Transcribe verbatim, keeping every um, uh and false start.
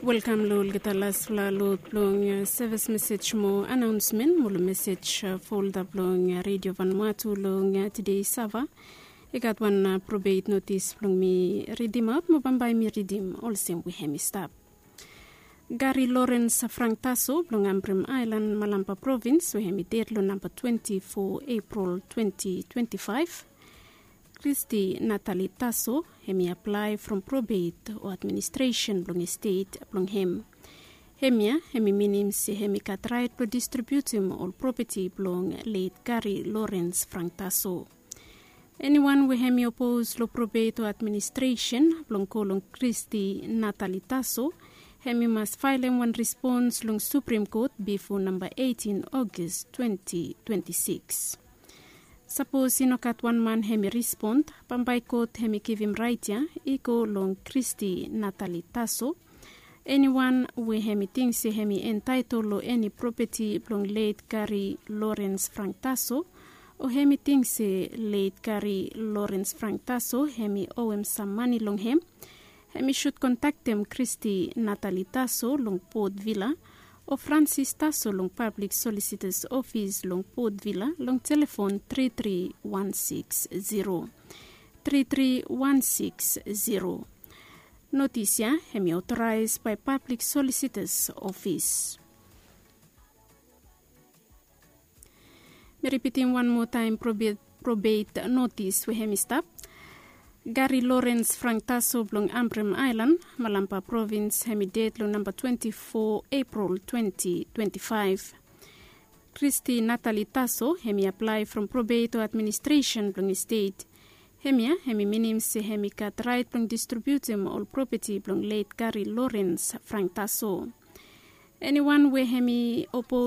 Welkam long olgeta laspela lot blong sevis mesej mo anaonsmen mo long mesej folda blong redio vanmatu long tide sava. I gat wan probet notis blong mi ridimaot mo bambae mi ridim olsem we hem i stap. Gari Lorens Frangtaso blong Ambrem Ailan, Malampa Provins, we hem i ded long namba twenti fo Epril twenti twenti faef. Kristi Natali Taso hem i aplae from probet o administresen blong estet blong hem. Hemia hem i minim se hem i gat raet blong distribiutim ol propeti blong let Gari Lorens Frangtaso. Eniwan we hem i opos long probet o administresen blong go long Kristi Natali Taso, hem i mas faelem wan respons long Suprim Kot bifo namba eitin Ogis twenti twenti sikis. Sapos i no gat wan man hem i respon, bambae kot hem i givim raet ya i go long Kristi Natali Taso. Eniwan we hem i ting se hem i entaetol long eni propeti blong let Gari Lorens Frangtaso, o hem i ting se let Gari Lorens Frangtaso hem i owem sam mane long hem, hem i sud kontaktem Kristi Natali Taso long Port Vila, o Fransis Taso long Pablik Solisitas Ofis long Port Vila long telefon tri tri wan sikis zero, tri tri wan sikis zero. Notis ya hem i otoraes bae Pablik Solisitas Ofis. Mi ripitim wan moa taem probet notis we hem i stap. Gari Lorens Frangtaso blong Ambrem Ailan, Malampa Provins, hem i ded long namba twenti fo Epril twenti twenti faef. Kristi Natali Taso hem i aplae from probet o administresen blong estet. Hemia hem i minim se hem i gat raet blong distribiutim ol propeti blong let Gari Lorens Frangtaso. Eniwan we hem i opos